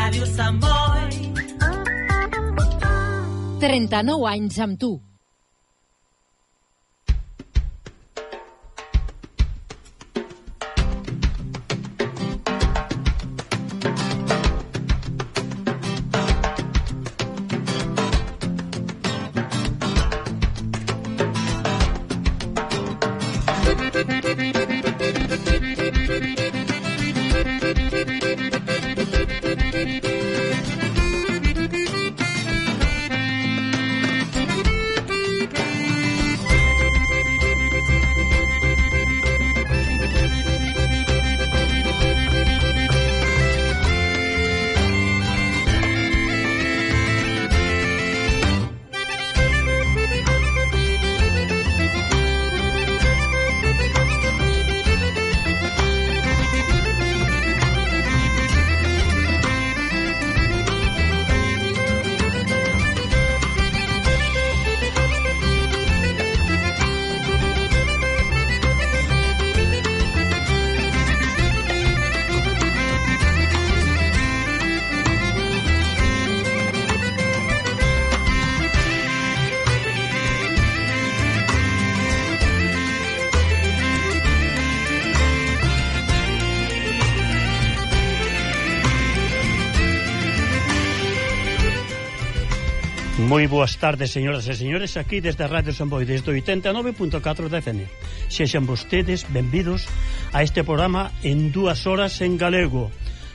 Ràdio Sant Boi. 39 anys amb tu. Moi boas tardes, señoras e señores, aquí desde Radio Sant Boi, desde 89.4 da FM. Sexan vostedes benvidos a este programa en 2 horas en galego,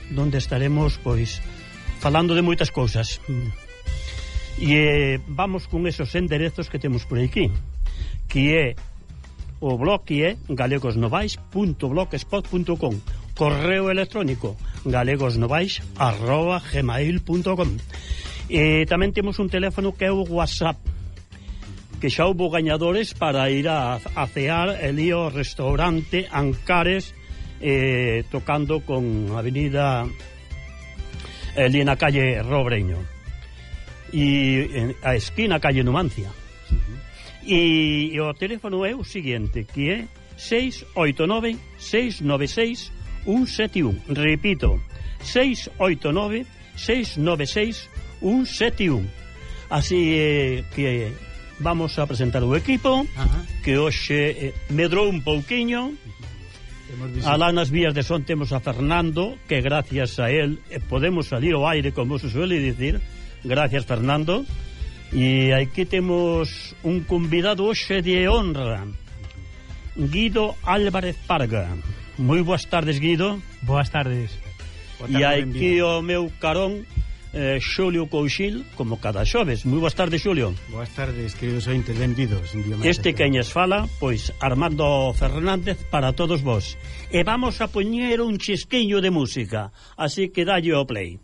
donde estaremos, pois, falando de moitas cousas. E vamos con esos enderezos que temos por aquí, que é o blog que é galegosnovais.blogspot.com, correo electrónico galegosnovais@gmail.com. E tamén temos un teléfono que é o WhatsApp, que xa houve gañadores para ir a cear ali ao restaurante Ancares, tocando con avenida ali na calle Robreño e a esquina calle Numancia. E o teléfono é o seguinte, que é 689-696-171. Repito, 689-696-171. Así que vamos a presentar o equipo. Que hoxe medrou un pouquiño. Alá nas vías de son temos a Fernando, que gracias a él podemos salir ao aire, como se suele dicir. Gracias, Fernando. E aquí temos un convidado hoxe de honra, Guido Álvarez Parga. Moi boas tardes, Guido. Boas tardes. E aquí o meu carón, Xulio Couchil, como cada xoves. Moi boas tardes, Xulio. Boas tardes, queridos ointes, benvidos. Este queñes fala, pois Armando Fernández para todos vos. E vamos a poñer un chisquiño de música, así que dalle o play.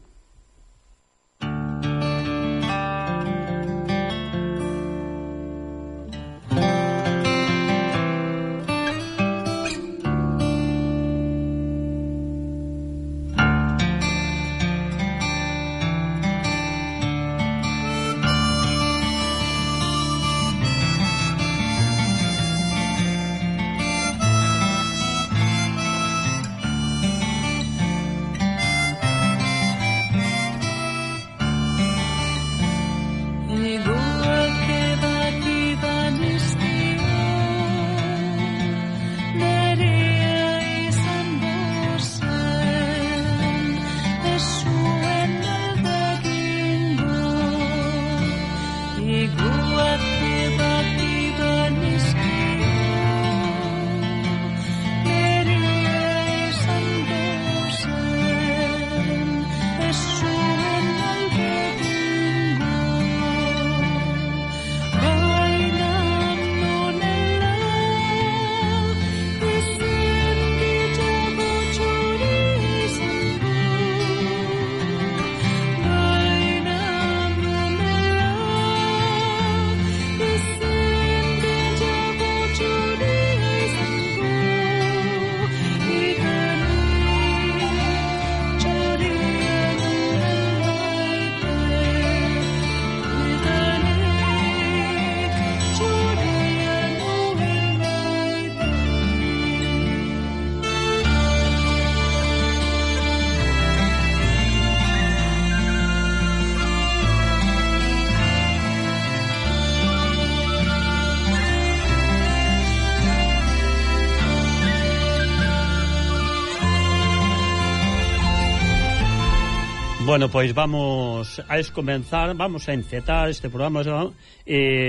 Bueno, pois vamos a comenzar, vamos a encetar este programa.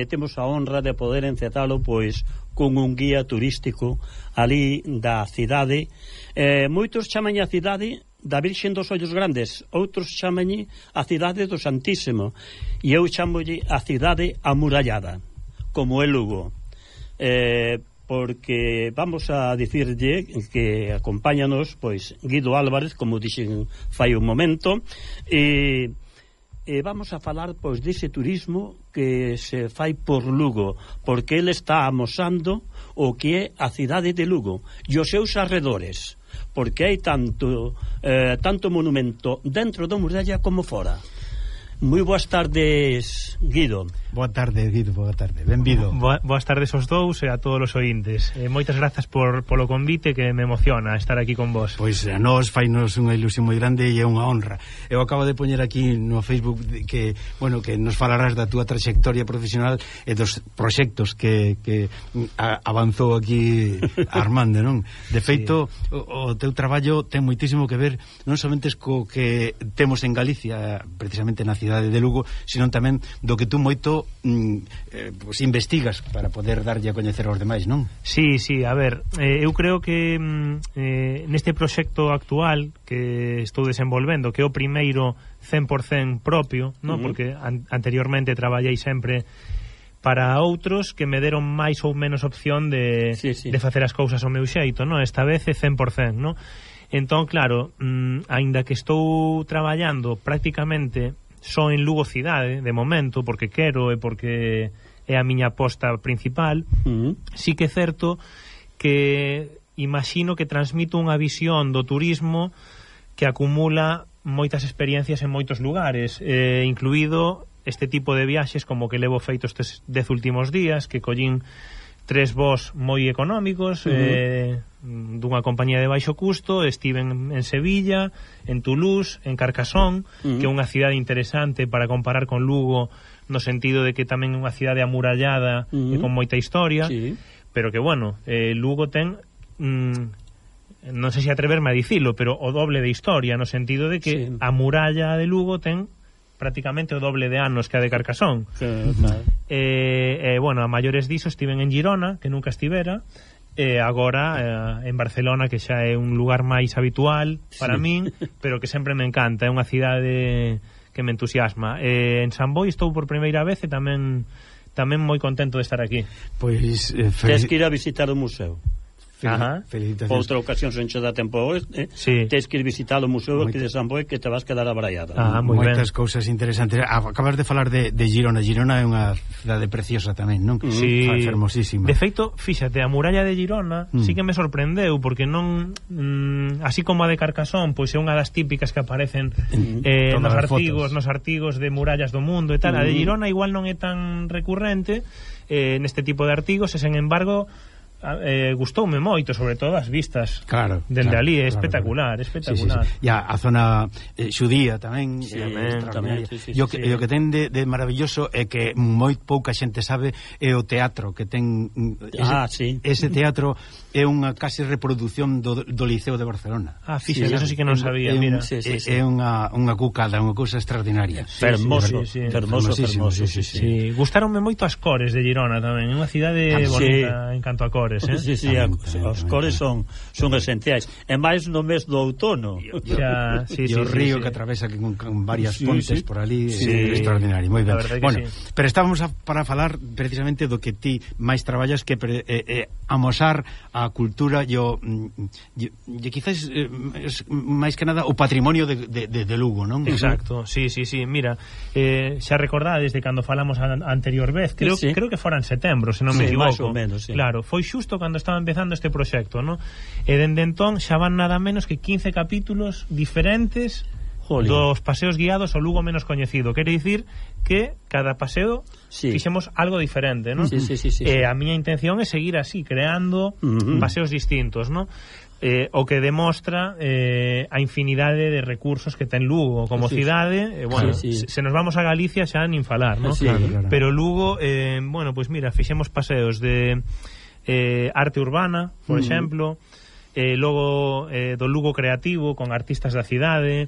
Temos a honra de poder encetalo pois con un guía turístico ali da cidade. Moitos chaman a cidade da Virxen dos Ollos Grandes, outros chaman a cidade do Santísimo, e eu chamolle a cidade amurallada, como é Lugo. Porque vamos a dicirlle que acompáñanos pois Guido Álvarez, como dixen fai un momento, e vamos a falar pois dese turismo que se fai por Lugo, porque ele está amosando o que é a cidade de Lugo e os seus arredores, porque hai tanto monumento dentro da muralla como fora. Moi boas tardes, Guido. Boa tarde, Guido, boa tarde. Benvido. Boas tardes aos dous e a todos os ointes. Moitas grazas polo convite, que me emociona estar aquí con vos. Pois a nós fainos unha ilusión moi grande e é unha honra. Eu acabo de poñer aquí no Facebook que nos falarás da túa trayectoria profesional e dos proxectos que avanzou aquí Armando, non? De feito, sí, o teu traballo ten moitísimo que ver non somente co que temos en Galicia, precisamente na cidade de Lugo, sino tamén do que tú moito pues investigas para poder darlle a coñecer aos demais, non? Sí, a ver, eu creo que neste proxecto actual que estou desenvolvendo, que é o primeiro 100% propio, non? Porque anteriormente traballei sempre para outros que me deron máis ou menos opción de facer as cousas ao meu xeito, non? Esta vez é 100%, non? Entón, claro, aínda que estou traballando prácticamente só en Lugo cidade, de momento, porque quero e porque é a miña aposta principal, sí que é certo que imagino que transmito unha visión do turismo que acumula moitas experiencias en moitos lugares, incluído este tipo de viaxes como que levo feito estes 10 últimos días, que collín 3 voos moi económicos, dunha compañía de baixo custo. Estiven en Sevilla, en Toulouse, en Carcassonne, que é unha cidade interesante para comparar con Lugo, no sentido de que tamén é unha cidade amurallada e con moita historia, pero que, bueno, Lugo ten, non sei se atreverme a dicilo, pero o doble de historia, no sentido de que a muralla de Lugo ten prácticamente o doble de anos que a de Carcassonne. Claro. Bueno, a maiores diso estiven en Girona, que nunca estivera, e agora en Barcelona, que xa é un lugar máis habitual para min, pero que sempre me encanta, é unha cidade que me entusiasma. En San Boi estou por primeira vez e tamén moi contento de estar aquí. Pois tens que ir a visitar o museo. Felicitacións. Outra ocasión se enche da tempo tens que ir visitar o museo aquí de San Boi, que te vas quedar abraiada. Moitas cousas interesantes. Acabas de falar de Girona. Girona é unha cidade preciosa tamén, non? Sí, fermosísima. De feito, fíxate, a muralla de Girona sí que me sorprendeu, porque non así como a de Carcassonne, pois é unha das típicas que aparecen nos artigos de murallas do mundo e tal. A de Girona igual non é tan recurrente neste tipo de artigos, e sen embargo gustoume moito, sobre todo as vistas dende ali, é espectacular. E a zona xudía tamén, tamén. E o que ten de maravilloso é que moi pouca xente sabe é o teatro que ten. Ese teatro é unha case reproducción do Liceo de Barcelona. Fíxate, eso sí que non sabía, mira. É unha cucada, unha cousa extraordinaria. Fermoso. Gustaronme moito as cores de Girona tamén, é unha cidade bonita en canto a cores. Os cores son esenciais, e máis no mes do outono. E o río que atravesa con varias pontes por ali, é extraordinario, moi ben. Bueno, pero estábamos para falar precisamente do que ti máis traballas, que amosar a cultura e quizás máis que nada o patrimonio de Lugo, non? Exacto, sí, mira, xa recordades de cando falamos a anterior vez, creo que fora en setembro, se non me equivoco. Máis ou menos, claro, foi xusto cando estaba empezando este proxecto, ¿no? E dende entón xa van nada menos que 15 capítulos diferentes dos paseos guiados ao Lugo menos coñecido. Quere dicir que cada paseo fixemos algo diferente, ¿no? A miña intención é seguir así, creando paseos distintos, ¿no? O que demostra a infinidade de recursos que ten Lugo como cidade. Bueno, se nos vamos a Galicia xa nin falar, ¿no? Claro. Pero Lugo, bueno, pues mira, fixemos paseos de arte urbana, por exemplo, logo do Lugo creativo con artistas da cidade,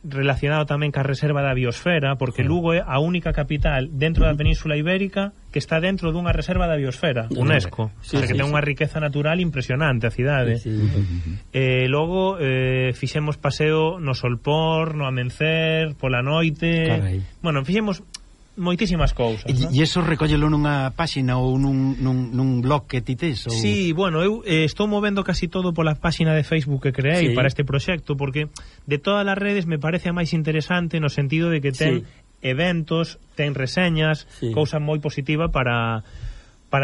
relacionado tamén ca reserva da biosfera, porque Lugo é a única capital dentro da Península Ibérica que está dentro dunha reserva da biosfera, UNESCO, que ten unha riqueza natural impresionante a cidade. Logo fixemos paseo no Solpor, no Amencer, pola noite. Carai. Bueno, fixemos moitísimas cousas, ¿no? E iso recóllelo nunha páxina ou nun blog que ti tes? Ou... Sí, bueno, eu estou movendo casi todo pola páxina de Facebook que creei para este proxecto, porque de todas as redes me parece a máis interesante no sentido de que ten eventos, ten reseñas, cousa moi positiva para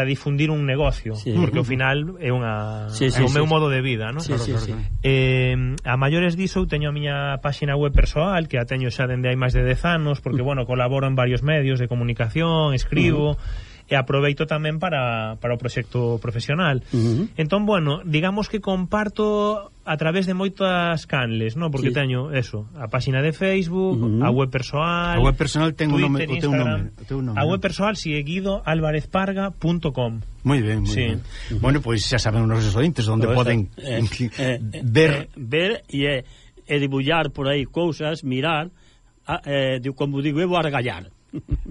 difundir un negocio, porque ao final é o meu modo de vida, ¿no? A maiores diso eu teño a miña páxina web persoal, que a teño xa dende hai máis de 10 anos, porque, bueno, colaboro en varios medios de comunicación, escribo, e aproveito tamén para o proxecto profesional. Entón, bueno, digamos que comparto a través de moitas canles, ¿no? Porque teño eso, a páxina de Facebook, a web persoal. A web personal ten Twitter, o teu nome. A web persoal si é guidoalvarezparga.com. Moi ben, moi ben. Bueno, pois xa saben os nosos ointes onde poden ver e dibullar por aí cousas, mirar, como digo, eu argallar.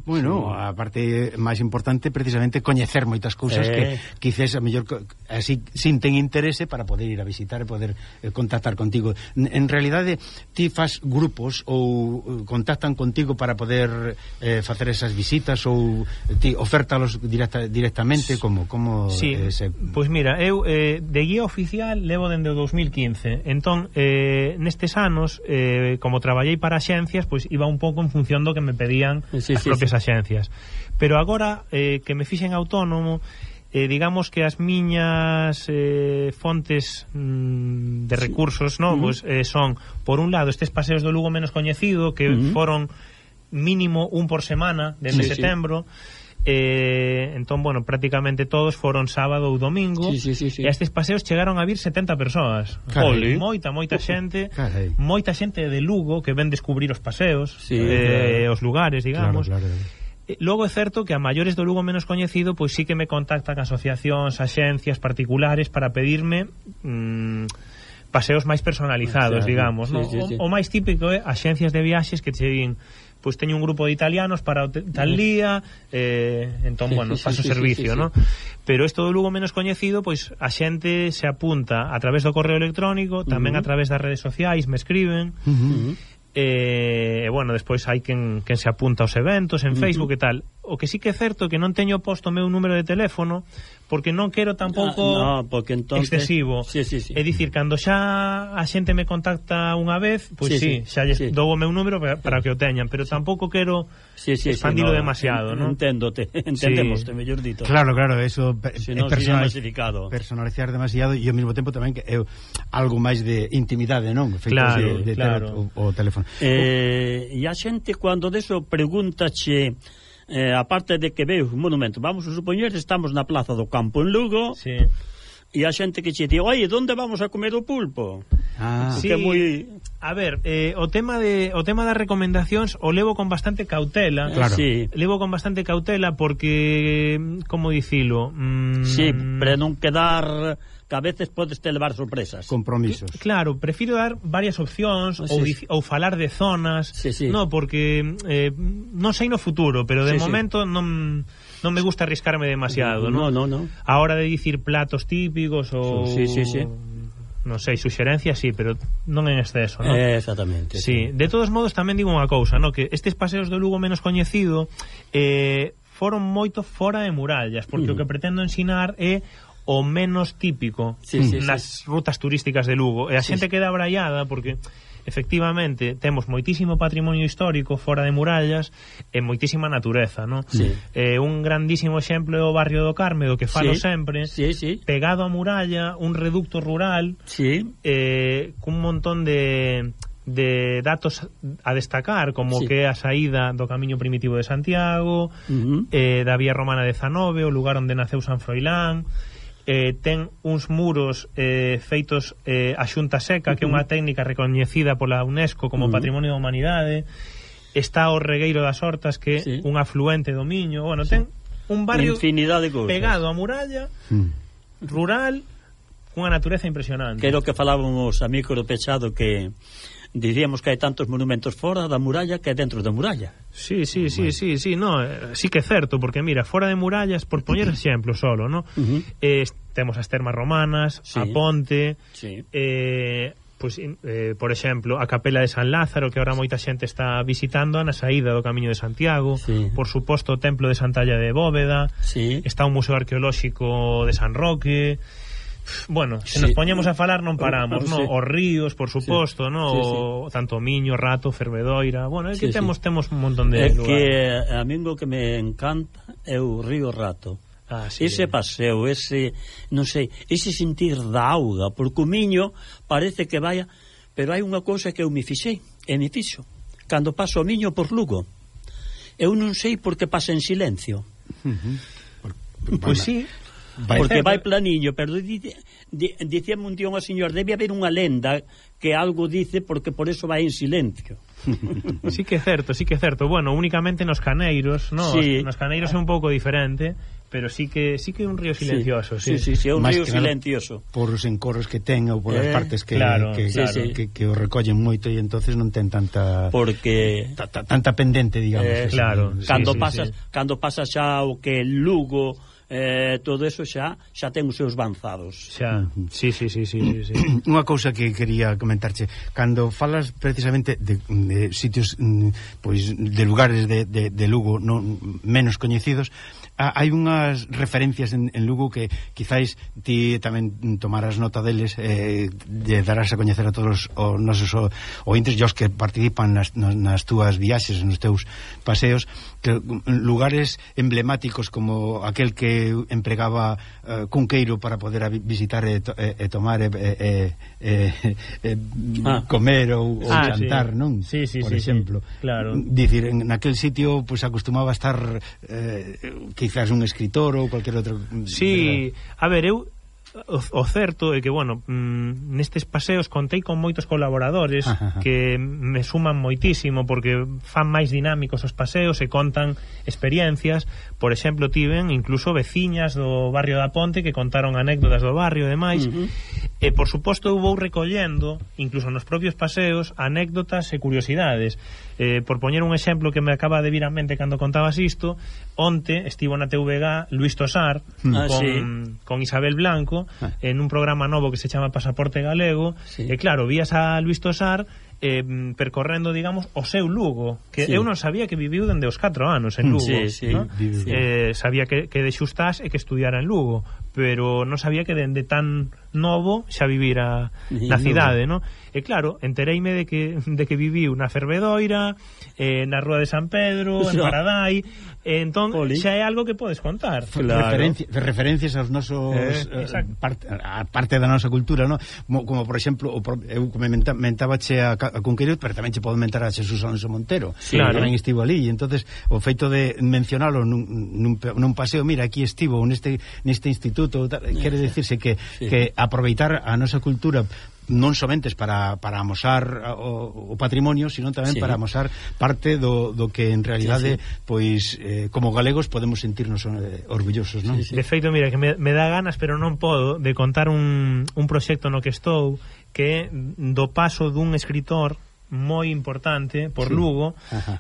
Bueno, a parte máis importante precisamente coñecer moitas cousas que quizás a mellor así sinten interese para poder ir a visitar e poder contactar contigo. En realidade ti fas grupos ou contactan contigo para poder facer esas visitas ou ti ofértalos directamente como sí, pois mira, eu de guía oficial levo dende o 2015. Entón, nestes anos como traballei para axencias, pois iba un pouco en función do que me pedían as propias axencias. Pero agora que me fixen autónomo, digamos que as miñas fontes de recursos, ¿no? Pues, son, por un lado, estes paseos do Lugo menos coñecido, que foron mínimo un por semana desde setembro. Entón, bueno, prácticamente todos foron sábado ou domingo, e estes paseos chegaron a vir 70 persoas. Moita xente, moita xente de Lugo que ven descubrir os paseos, os lugares, digamos. Logo é certo que a maiores do Lugo menos coñecido, pois sí que me contactan asociacións, axencias particulares para pedirme paseos máis personalizados, digamos, ¿no? O máis típico é axencias de viaxes que che din, pois teño un grupo de italianos para tal día, entón, bueno, paso servicio, ¿no? Pero isto do Lugo menos coñecido, pois a xente se apunta a través do correo electrónico, tamén a través das redes sociais, me escriben, e bueno, despois hai quen se apunta aos eventos en Facebook e tal. O que sí que é certo que non teño posto o meu número de teléfono, porque non quero tampouco excesivo. É dicir, cando xa a xente me contacta unha vez, pois xa lles dou o meu número para que o teñan, pero tampouco quero expandilo demasiado, ¿no? Entendémoste, mellor dito. Claro, eso personalizar demasiado, e ao mesmo tempo tamén que é algo máis de intimidade, non? Claro. O teléfono. E a xente cando deso pregúntache, aparte de que veo un monumento, vamos a supoñer estamos na Plaza do Campo en Lugo, e a xente que che di, oye, onde vamos a comer o pulpo? A ver, o tema das recomendacións o levo con bastante cautela. Levo con bastante cautela porque, como dicilo, para non quedar, que a veces podes te levar sorpresas, compromisos. Claro, prefiro dar varias opcións ou falar de zonas, no, porque non sei no futuro, pero de momento non me gusta arriscarme demasiado, ¿no? A hora de dicir platos típicos ou non sei, suxerencias, pero non en exceso, ¿no? Exactamente. De todos modos tamén digo unha cousa, ¿no? Que estes paseos do Lugo menos coñecido foron moito fora de murallas, porque o que pretendo ensinar é o menos típico nas rutas turísticas de Lugo, e a xente queda abraiada porque efectivamente temos moitísimo patrimonio histórico fora de murallas e moitísima natureza, ¿no? Un grandísimo exemplo é o barrio do Carme, do que falo sempre, pegado a muralla, un reducto rural, cun montón de datos a destacar, como que é a saída do camiño primitivo de Santiago, da vía romana de Zanove, o lugar onde naceu San Froilán. Ten uns muros feitos a xunta seca, que é unha técnica recoñecida pola UNESCO como Patrimonio da Humanidade. Está o Regueiro das Hortas, que é un afluente do Miño. Bueno, ten un barrio pegado a muralla, rural, cunha natureza impresionante. Que é o que falábamos a micro pechado, que diríamos que hai tantos monumentos fora da muralla que dentro da muralla. Sí, no, sí que é certo, porque mira, fora de murallas, por poñer exemplo solo, no? Temos as termas romanas, a ponte, por exemplo, a capela de San Lázaro, que ahora moita xente está visitando na saída do Camiño de Santiago, por suposto o templo de Santalla de Bóveda, está un museo arqueolóxico de San Roque. Bueno, se nos poñemos a falar non paramos, no? Os ríos, por suposto, no? Tanto Miño, Rato, Fervedoira. Bueno, é que temos un montón de lugares. Que a mí o que me encanta é o río Rato. Ese paseo, ese, non sei, ese sentir da auga, porque o Miño parece que vaya, pero hai unha cousa que eu me fixei, e me fixo, cando paso o Miño por Lugo, eu non sei por que pasa en silencio. Pois sí, porque vai planiño, pero dicíame un día unha señor, debe haber unha lenda que algo dice porque por eso vai en silencio. Sí que é certo. Bueno, únicamente nos caneiros, no? Nos caneiros é un pouco diferente, pero sí que é un río silencioso. Sí, é un río silencioso. Por os encorros que ten ou por as partes que o recollen moito e entonces non ten tanta tanta pendente, digamos. Cando pasa xa o que Lugo, todo eso xa ten os seus banzados. Sí. Unha cousa que quería comentarche, cando falas precisamente de sitios, pois de lugares de Lugo menos coñecidos, hai unhas referencias en Lugo que quizáis ti tamén tomarás nota deles, de darás a coñecer a todos os nosos ointes e os que participan nas túas viaxes, nos teus paseos, que lugares emblemáticos como aquel que empregaba Cunqueiro para poder visitar e tomar comer ou jantar, non? Por exemplo, dicir, en aquel sitio pues acostumaba a estar quizás un escritor ou cualquier outro. Sí, a ver, o certo é que, bueno, nestes paseos contei con moitos colaboradores que me suman moitísimo porque fan máis dinámicos os paseos e contan experiencias. Por exemplo, tiven incluso veciñas do barrio da Ponte que contaron anécdotas do barrio e demais. E, por suposto, eu vou recollendo, incluso nos propios paseos, anécdotas e curiosidades. Por poñer un exemplo que me acaba de vir a mente cando contabas isto, onte estivo na TVG Luis Tosar con Isabel Blanco en un programa novo que se chama Pasaporte Galego, e claro, vías a Luis Tosar percorrendo, digamos, o seu Lugo, que eu non sabía que viviu dende os 4 anos en Lugo, ¿no? Sabía que de Xustás e que estudiara en Lugo, pero non sabía que dende tan novo xa vivira na cidade, ¿no? E claro, entereime de que viviu na Fervedoira, na Rúa de San Pedro, en Paradai, entón xa é algo que podes contar. Referencias aos nosos parte da nosa cultura, ¿no? Como por exemplo, eu comentabache a Cunqueiro, pero tamén che podo mentar a Xesús Alonso Montero, que tamén estivo ali, e entonces o feito de mencionalo nun paseo, mira, aquí estivo neste instituto, quere decirse que aproveitar a nosa cultura non somente para amosar o patrimonio, sino tamén para amosar parte do que en realidade pois como galegos podemos sentirnos orgullosos, non? De feito, mira, que me dá ganas, pero non podo, de contar un proxecto no que estou, que é do paso dun escritor moi importante por Lugo.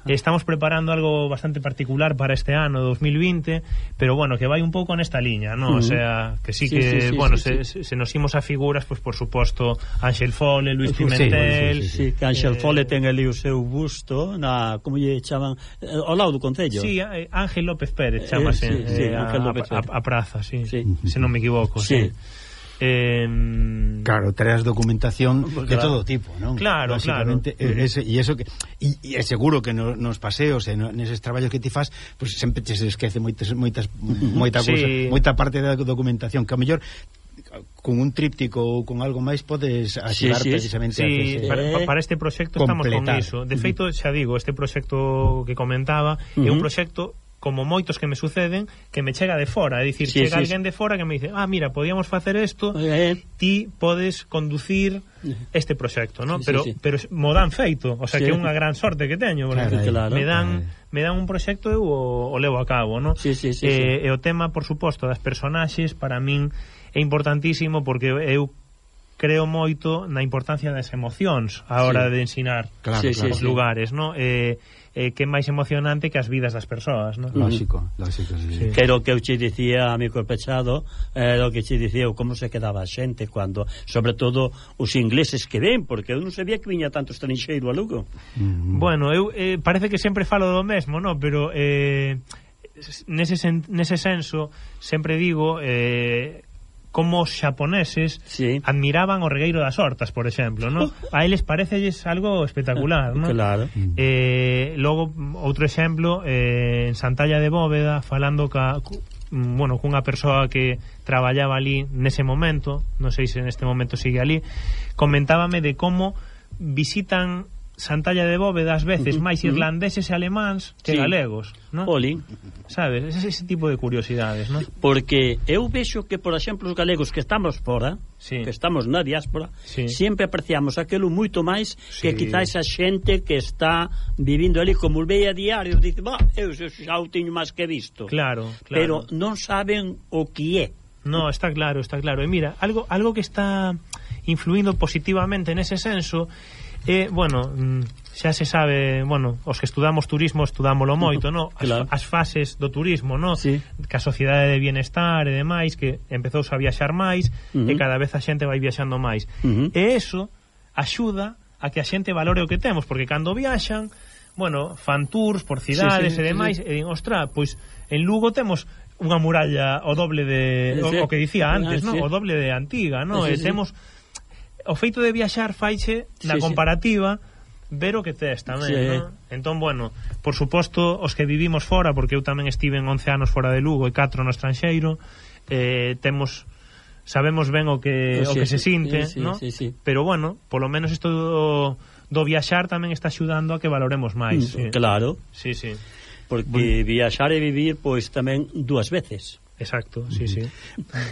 Estamos preparando algo bastante particular para este ano 2020, pero bueno, que vai un pouco nesta liña, ¿no? O sea, que sí que se nos imos a figuras, pues por suposto Ángel Fole, Luis Pimentel, que Ángel Fole ten ali o seu busto na, como lle chaman, ao lado do concello. Sí, Ángel López Pérez chamase a praza, se non me equivoco. Claro, traes documentación de todo tipo, ¿no? Claro. E é seguro que nos paseos e neses traballos que ti fas, pues sempre te se esquece moita cousa, moita parte da documentación que a mellor con un tríptico ou con algo máis podes axudar precisamente para este proxecto estamos con iso. De feito, xa digo, este proxecto que comentaba é un proxecto como moitos que me suceden, que me chega de fora, é dicir, chega alguén de fora que me dice, mira, podíamos facer isto, ti podes conducir este proxecto, ¿no? Pero mo dan feito, o sea, que é unha gran sorte que teño, porque me dan un proxecto e eu o levo a cabo, ¿no? E o tema, por suposto, das personaxes, para min é importantísimo, porque eu creo moito na importancia das emocións a hora de ensinar os lugares, non? Que é máis emocionante que as vidas das persoas, non? Lógico, sí. Que era o que eu che dicía a mi corpechado, era o que che dicía como se quedaba a xente cando, sobre todo os ingleses que ven, porque eu non sabía que viña tanto estranxeiro a Lugo. Bueno, eu parece que sempre falo do mesmo, non? Pero nese senso sempre digo como os xaponeses admiraban o regueiro das hortas, por exemplo, ¿no? A eles parecelles algo espectacular, ¿no? Claro. Logo, outro exemplo, en Santalla de Bóveda, falando cunha persoa que traballaba ali nese momento, non sei se neste momento sigue ali, comentábame de como visitan Santalla de Bóveda ás veces máis irlandeses e alemáns que galegos, non? Olín. Sabes, ese tipo de curiosidades, non? Porque eu vexo que, por exemplo, os galegos que estamos fora, que estamos na diáspora, sempre apreciamos aquilo moito máis que quizás a xente que está vivindo ali, como o ve a diario, dice, eu xa o teño máis que visto. Claro. Pero non saben o que é. No, está claro. E mira, algo que está influindo positivamente nese senso xa se sabe, os que estudamos turismo estudámolo moito, non? As fases do turismo, non? Que a sociedade de bienestar e demais, que empezou a viaxar máis e cada vez a xente vai viaxando máis. E eso axuda a que a xente valore o que temos, porque cando viaxan, fan tours por cidades e demais, e din, ostra, pois en Lugo temos unha muralla o doble de o que dicía antes, non? O doble de antiga, non? E temos o feito de viaxar faiche na comparativa ver o que tes tamén, non? Entón, por suposto, os que vivimos fora, porque eu tamén estive en 11 anos fora de Lugo e 4 no estranxeiro, sabemos ben o que se sinte, non? Pero polo menos isto do viaxar tamén está axudando a que valoremos máis. Claro. Sí. Porque viaxar e vivir, pois tamén dúas veces. Exacto, sí.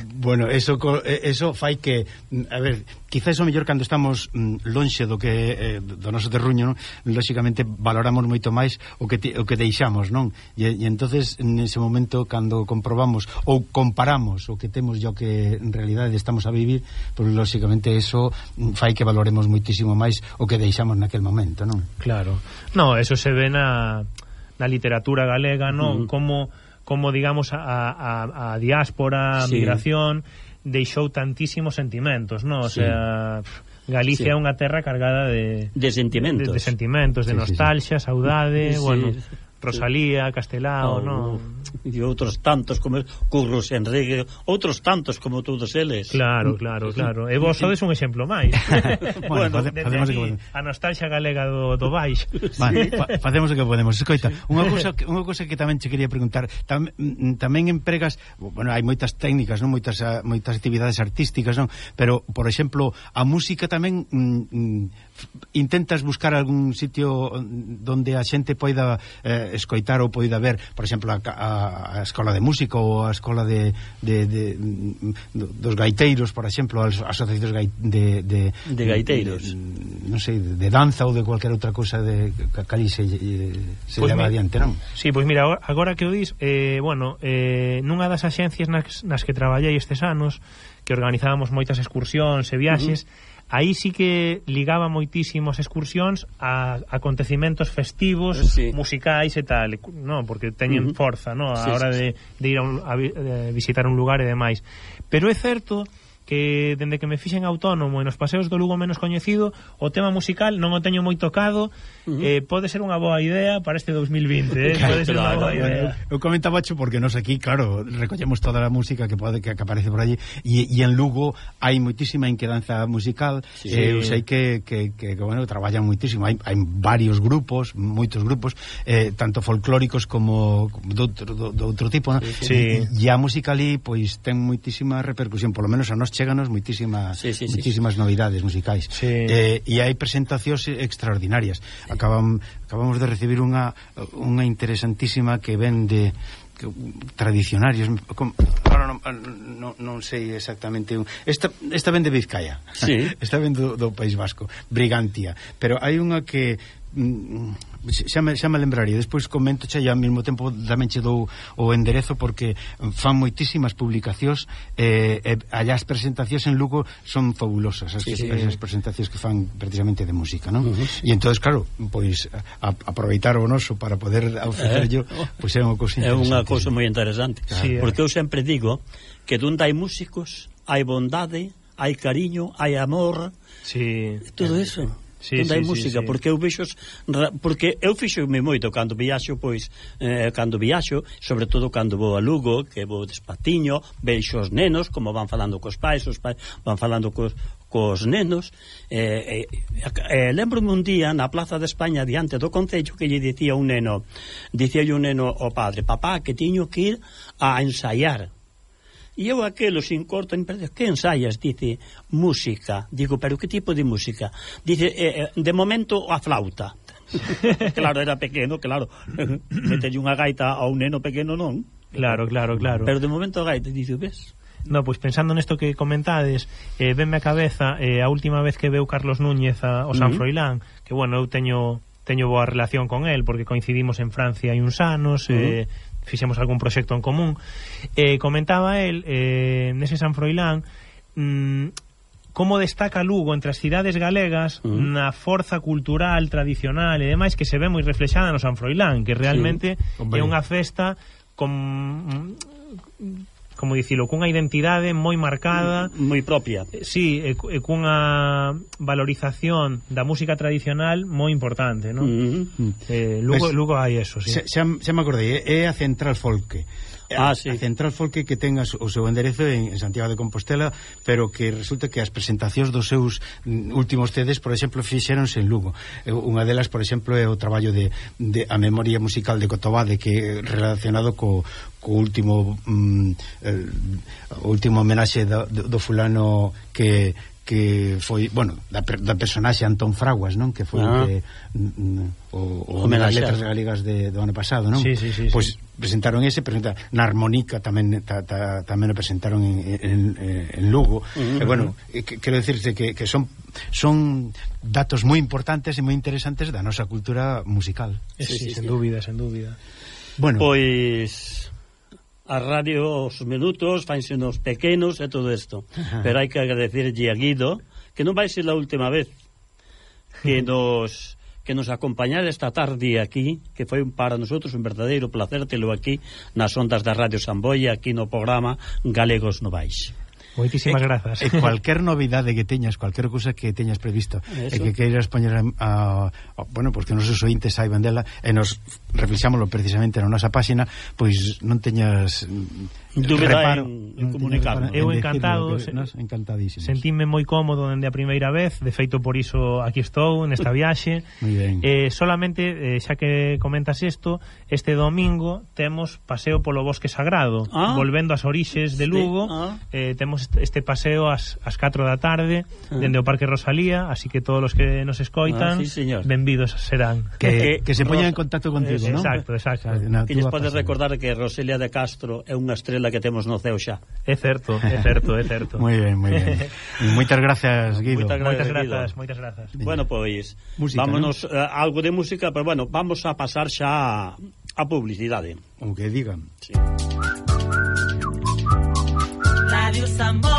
Bueno, eso fai que, a ver, quizás o mellor cando estamos lonxe do que do noso terruño, non? Lóxicamente valoramos moito máis o que deixamos, non? E entonces nese momento cando comprobamos ou comparamos o que temos e o que en realidade estamos a vivir, pois lóxicamente eso fai que valoremos moitísimo máis o que deixamos naquel momento, non? Claro. No, eso se ve na literatura galega, non? Como digamos a diáspora, a migración deixou tantísimos sentimentos, non? O sea, Galicia é unha terra cargada de sentimentos, de nostalgia, saudade, Rosalía, Castelao, non? E outros tantos como Curros Enrique, outros tantos como todos eles. Claro. E vos sodes un exemplo máis. Facemos o que podemos. A nostalgia galega do baix. Facemos o que podemos. Escoita, unha cousa que tamén che quería preguntar, tamén empregas, hai moitas técnicas, non? Moitas actividades artísticas, non? Pero, por exemplo, a música tamén intentas buscar algún sitio onde a xente poida escoitar ou poida ver, por exemplo, a escola de música ou a escola dos gaiteiros, por exemplo, as asociacións de gaiteiros, non sei, de danza ou de cualquier outra cousa que ali se leva adiante, non? Sí, pois mira, agora que o dis, nunha das axencias nas que traballei estes anos, que organizábamos moitas excursións e viaxes, aí sí que ligaba moitísimos excursións a acontecimentos festivos, musicais e tal, non, porque teñen forza, non, a hora de ir a visitar un lugar e demais. Pero é certo que dende que me fixen autónomo e nos paseos do Lugo menos coñecido, o tema musical non o teño moi tocado, pode ser unha boa idea para este 2020, pode ser unha boa idea. Eu comentabacho porque nos aquí, claro, recollemos toda a música que aparece por allí, e en Lugo hai moitísima inquedanza musical, eu sei que traballan moitísimo, hai varios grupos, moitos grupos, tanto folclóricos como do outro tipo, non? E a música ali, pois, ten moitísima repercusión, polo menos a nos cheganos moitísimas novidades musicais, e hai presentacións extraordinarias. Acabamos de recibir unha interesantísima que ven de tradicionarios, ahora non sei exactamente, esta ven de Vizcaya, esta ven do País Vasco, Brigantia, pero hai unha que xa me lembraría, despois comento xa, e ao mesmo tempo tamén che dou o enderezo, porque fan moitísimas publicacións, allá as presentacións en Lugo son fabulosas, as presentacións que fan precisamente de música, non? E entonces, claro, pois aproveitar o noso para poder ofrecerlo, pois é unha cousa interesante. É unha cousa moi interesante, claro. Porque eu sempre digo que donde hai músicos hai bondade, hai cariño, hai amor, todo eso. Onde hai música, porque eu vexo, porque eu fixo-me moito cando viaxo, pois sobre todo cando vou a Lugo, que vou despatiño, vexo os nenos como van falando cos pais, os pais van falando cos nenos, lembro-me un día na Plaza de España diante do Concello que lle dicía un neno ao padre: papá, que tiño que ir a ensaiar. E eu aquelo sin corto, que ensaias? Dice, música. Digo, pero que tipo de música? Dice, de momento a flauta. Claro, era pequeno, claro. Metelle unha gaita a un neno pequeno, non? Claro. Pero de momento a gaita, dice, ves? No, pois pensando nesto que comentades, venme a cabeza a última vez que veu Carlos Núñez ao San Froilán, que bueno, eu teño boa relación con el, porque coincidimos en Francia hai uns anos, fixemos algún proxecto en común, comentaba el nese San Froilán como destaca Lugo entre as cidades galegas na forza cultural, tradicional e demais, que se ve moi reflexada no San Froilán, que realmente é unha festa como dicilo, cunha identidade moi marcada, moi propia. Sí, e cunha valorización da música tradicional moi importante, non? Lugo hai eso, sí. Xa me acordei, é a Central Folke. Sí. A Central Folke, que ten o seu enderezo en Santiago de Compostela, pero que resulta que as presentacións dos seus últimos CDs, por exemplo, fixéronse en Lugo. Unha delas, por exemplo, é o traballo de a memoria musical de Cotobade, que relacionado co último homenaxe do fulano que foi, bueno, da personaxe Antón Fraguas, non? Que foi o das letras galegas do ano pasado, non? Sí. Pois presentaron na Armónica tamén o presentaron en Lugo. E bueno, quero dicirte que son datos moi importantes e moi interesantes da nosa cultura musical. Sí, sen dúbida. Bueno, pois a radio, os minutos fanse nos pequenos e todo isto, pero hai que agradecerlle a Guido, que non vai ser a última vez que nos acompañar esta tarde aquí, que foi para nosotros un verdadeiro placer telo aquí nas ondas da Radio Samboia, aquí no programa Galegos Novais. Moitísimas grazas. E cualquier novidade que teñas, cualquier cousa que teñas previsto e que queiras poñer bueno, porque os nosos ointes saiban dela e nos reflexámoslo precisamente na nosa páxina, pois non teñas dúbida en comunicar. Eu encantado, encantadísimo. Sentíme moi cómodo dende a primeira vez, de feito por iso aquí estou nesta viaxe. Moi ben. Solamente xa que comentas isto, este domingo temos paseo polo Bosque Sagrado, volvendo ás orixes de Lugo. Temos este paseo ás 4 da tarde dende o Parque Rosalía, así que todos os que nos escoitan, benvidos serán. Que se poñan en contacto contigo, ¿no? Exacto. Que lles podes recordar que Roselia de Castro é unha estrela que temos no ceo xa. É certo. Moi ben. Moitas grazas, Guido. Moitas grazas. Bueno, pois música, vámonos, algo de música, pero bueno, vamos a pasar xa a publicidade. O que digan. Sí. Radio Samboia.